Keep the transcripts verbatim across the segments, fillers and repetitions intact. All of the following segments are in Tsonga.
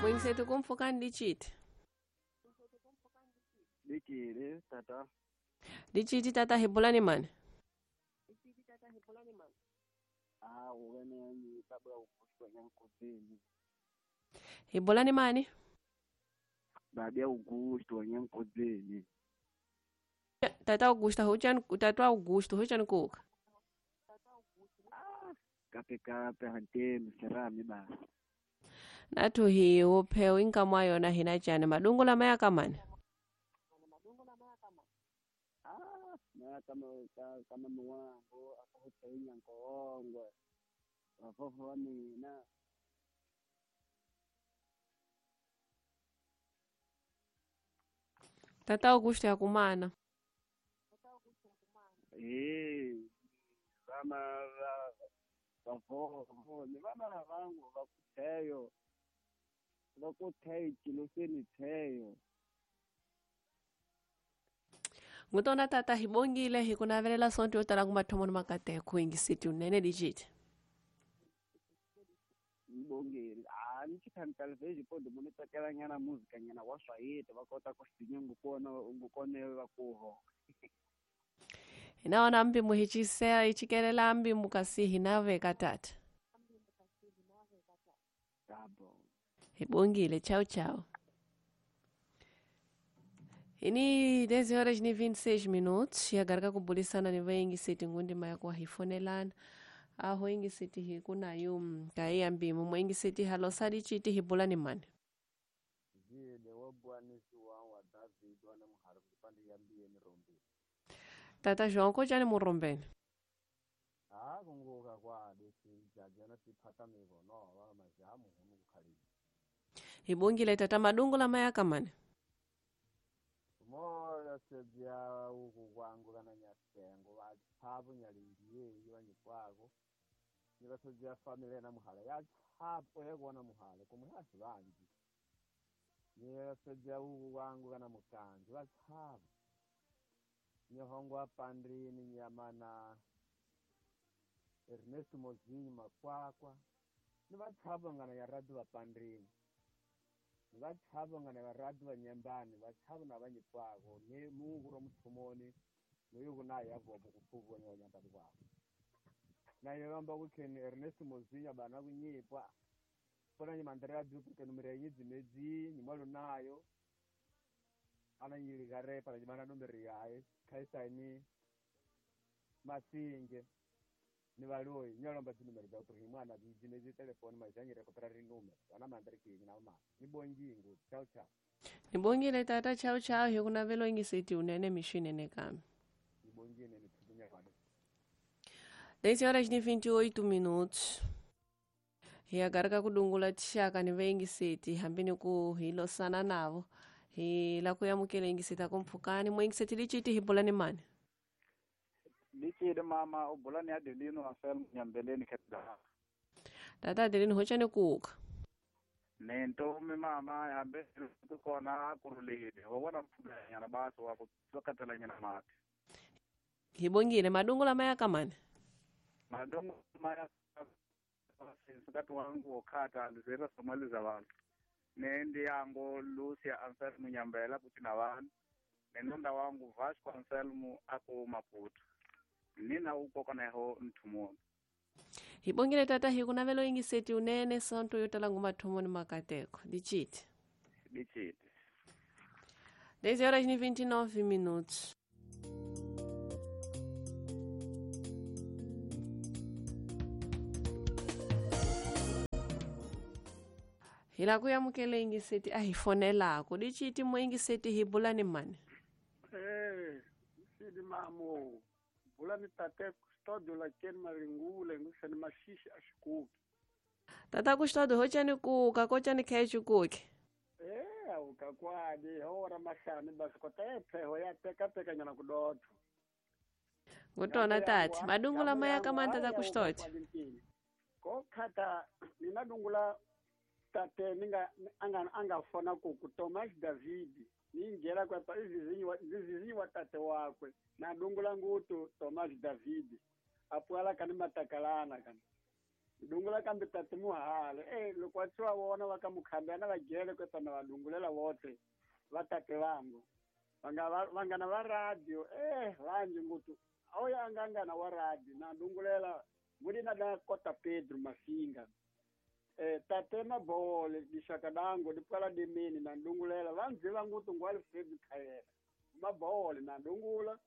Mwingisetu kumpfukani liciti. Likile tata. Liciti tata hibulani mani. Ah, wena ni baba ukushwa nyankozeni. Hibulani mani? Baada Augusto wanyankozeni. Tata Augusto huchan tata Augusto huchan kuka. Ah, kape kape hantemi serami basi. Nathu hi upheo inkamwa yona hina chane madungu la maya kamani. Ah, na kama kama mwangu akahutainya nkoongwe. Wafofo wa mina. Tata Augusto yakumana. Eh, vama va vafofo ni vana vangu vakutheyo. Vakutheyo chiloseni theyo. Ngutona tata hibongile hikunavelela sonto yo tala kumathomo ni makateko ingisiti unene dijiti. Ngibongile. Ah, ni chikantala veji podo mune tsakela nyana muzika nyana wa Swahili va kota ku sinya ngukona ngukone va kuho. Hinaona mbi muhichisea ichikelela mbi mukasi hinaveka tata. Tabo. Hibongile, tchau tchau. Ini dez horas e vinte e seis minutos e agora kubulisana ni vengi siti ngundi maya kwa hifonelana. Aho ingi siti hikuna yum kai ambimu mwengi siti halosadi chiti hibulani mani. Zile wabwanisi wa wa David wana muharu kupande yambie mirombe. Tata João kojani murombeni. Ah, kunguka kwa desi jajana sipata migono wa majamu hunu kukhali. Hibongile tata madungu la maya kamani. Mola sebya uku kwangu kana nyasengo vathabu nyalingiye iwanyikwako. Nibasebya family na muhala ya thapo yekona muhala kumwe hasi vanji. Nibasebya uku kwangu kana mukanzi vathabu. Nyahongwa pandrini nyamana Ernesto Mozinho makwakwa. Nivathabu ngana ya radu va pandrini. Vathabo ngana varadu va nyambani vathabo na vanyikwako ni mungu ro muthumoni noyo kuna ya vobo kupfuvo ni nyambani kwako na yomba kukheni Ernest Mozinya bana kunyipwa pona nyimandrea duplicate numero yidzi medzi nyimwalo nayo ana nyili gare para nyimana numero yaye kaisaini masinge ni valoi nyalomba tinumero za kuti mwana dzimedzi telefoni mazhanyire kupera rinumero ana mandari kinyi na ma ni bongingu chao chao. Nibongile tata chao chao hikunavelo ingisiti unene mishinene kami. Ni bongine ni tukunya kwado. dez horas e vinte e oito minutos. E agora kakudungula tixaka ni vengisiti hambini ku hilosana navo. Hila kuyamukela ingisiti akumpfukani mwengisiti lichiti hibulani mani. Lichile mama ubulani Adelino Anselmo nyambeleni kedda. Tata Adelino hochani kuuka. Nento mama hambe kona kurulile. Wabona mfuganyana basi wako tsakatela nyana mati. Hibongile madungu la maya kamani. Madungu maya sikati wangu okata lizera somali za vantu. Nendi yangu Lucia Anselmo nyambela kutina vantu. Nenonda wangu Vasco Anselmo aku Maputo. Nina uko kaneho nthumoni. Hibongile tata hikunavelo ingiseti unene sonto yotala ngumathomoni makateko. Dichiti. Dichiti. dez horas e vinte e nove minutos. Hila kuyamukela ingiseti ahifonelako. Dichiti mo ingiseti hibulani mani. Eh, sidi mamo. Bulani tate custódio la ken maringule ngusani mashishi ashikuki. Tata custódio hochani kuka kochani khe chikuki. Eh, ukakwadi hora mashani basi kotepe hoya teka teka nyana kudoto. Ngutona tati madungula maya kama tata custódio. Ko khata ninadungula tate ninga anga anga fona ku Thomas David ninjera kwa pa izizinyi izizinyi wa tate wakwe na dungula ngutu Thomas David apuala kani matakalana kani Dungula kambe tate muhale eh loko wa tsiwa vona va ka mukhambana va jele kwepa na va dungulela vote va tate vangu vanga vangana va radio eh vanji ngutu awuya angangana wa radio na dungulela ngulina da kota Pedro Mafinga eh tate mabole dishaka dango dipala dimini na dungulela vanzi vangutu ngwali Fred Khayela mabole na dungula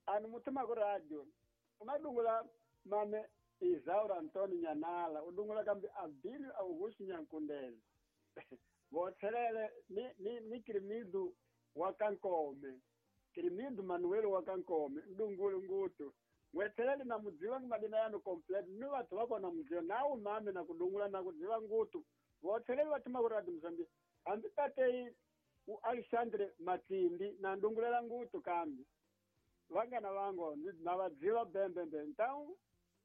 anu mutima ku radio umadungula mame Isaura Antonio Nyanala udungula kambi Abílio Augusto Nyankundele vothelele ni ni ni Krimidu wa Kankome Krimidu Manuel wa Kankome ndungulu ngutu wethelele na mudziwa madina yanu complete ni vathu va kona mudziwa nawu mame na kudungula na kudziwa ngutu vothelele va thuma ku radio Mozambique hambi tatei u Alexandre Matindi na ndungulela ngutu kambi vangana vango na vadziva bembembe então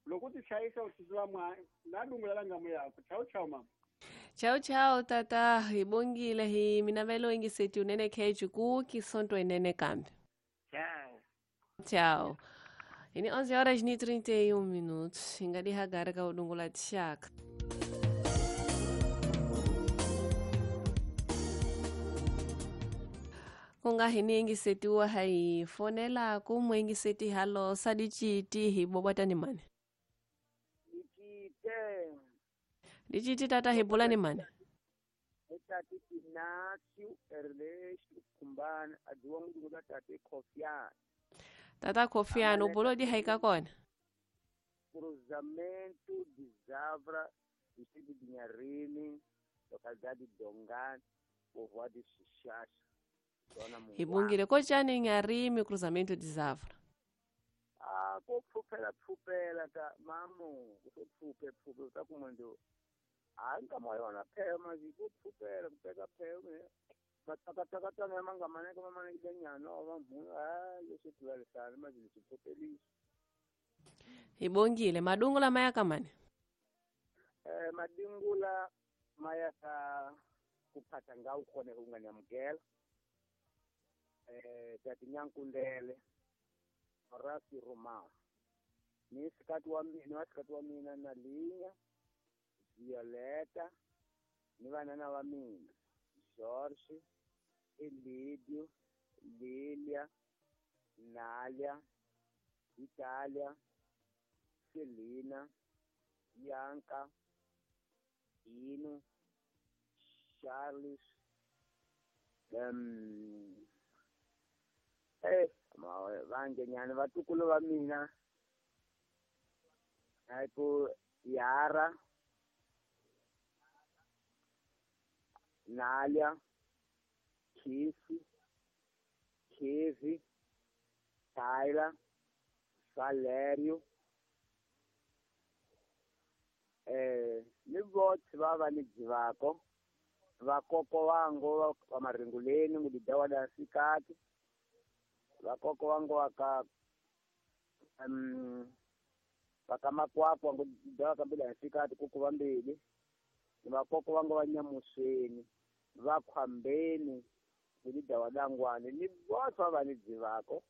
loko ti chayisa u tsuzula mwa na dungulela ngamu yako chau chau mama. Chau chau tata, hi bongile hi minavelo ingiseti unene keju ku kisonto enene kambi. Tchau. Tchau. Ini onze horas e trinta e um minutos. Ingadi hagara ka udungula tshaka. Kunga hini ingisetiwa hai fonela kumwe ingiseti halo sadichiti hi bobata ni mane. Dichiti tata hi bula ni mane. Tati Ignacio Ernesto Kumbana adziwa ngudungula tate Kofiana. Tata Kofiana ubulo di haika kona. Cruzamento de Zavra, distrito de Nharini, localidade de Dongani, povoado de Xixaxa. Hibungile kochani Nharini, cruzamento de Zavra. Ah, ko pfupela pfupela ta mamo, ko pfupe pfupe ta kumando. Ah, nkama yona phela mazi ko pfupela kupeka phela. Matakataka na manga maneka mama ni nyana wa mhu ah leswi tuwalisana mazi leswi pfupelisa. Hibongile madungula maya kamane. Eh madungula maya ka kuphatha ngawu khona unganyamukela. Eh tati Nyankundele Horacio Romao ni sikati wa mina wa sikati wa mina na Linya Violeta ni vanana wa mina Jorge Elidio Lilia Nalia Italia Selina Bianca Ino Charles um eh vangenyana vatukulu va mina ku Yara Nalia Kisi Kevi Tyler Valério eh ni vothe va va ni dzivako vakoko vango va maringuleni ngudidawa da sikati vakoko vango vaka um vakamakwakwa ngudidawa kambila sikati kuku vambili ni vakoko vango va nyamusweni vakhwambeni ngudidawa dangwane ni vothe va va ni dzivako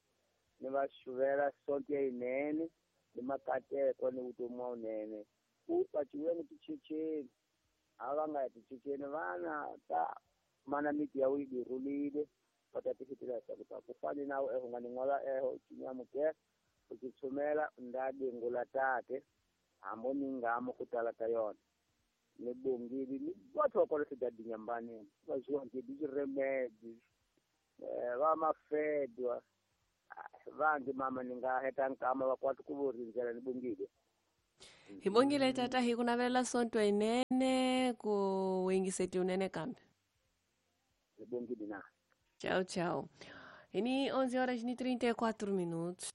ni va xuvela sonto ya yinene ni makateko ni vutomi wa wunene ku paciweni tichecheni a va nga ya tichecheni vana ta mana miti ya widi rhulile va ta tifitela ku ta ku fani nawu eho nga ni n'wala eho cinyamukela u ti tshumela nda dingula tate hambo ni ngamo ku tala ka yona ni bongile ni vothe va kwala swidadinyambaneni va zwiwa nkedi xiremedi va mafedwa vangi mama ni nga heta nkama va kwati ku vo rindzela ni bongile. Hi bongile tata hi ku navelela sonto yinene ku wingiseti unene kambe. Hi bongile na. Tchau, tchau. Ini onze horas e trinta e quatro minutos.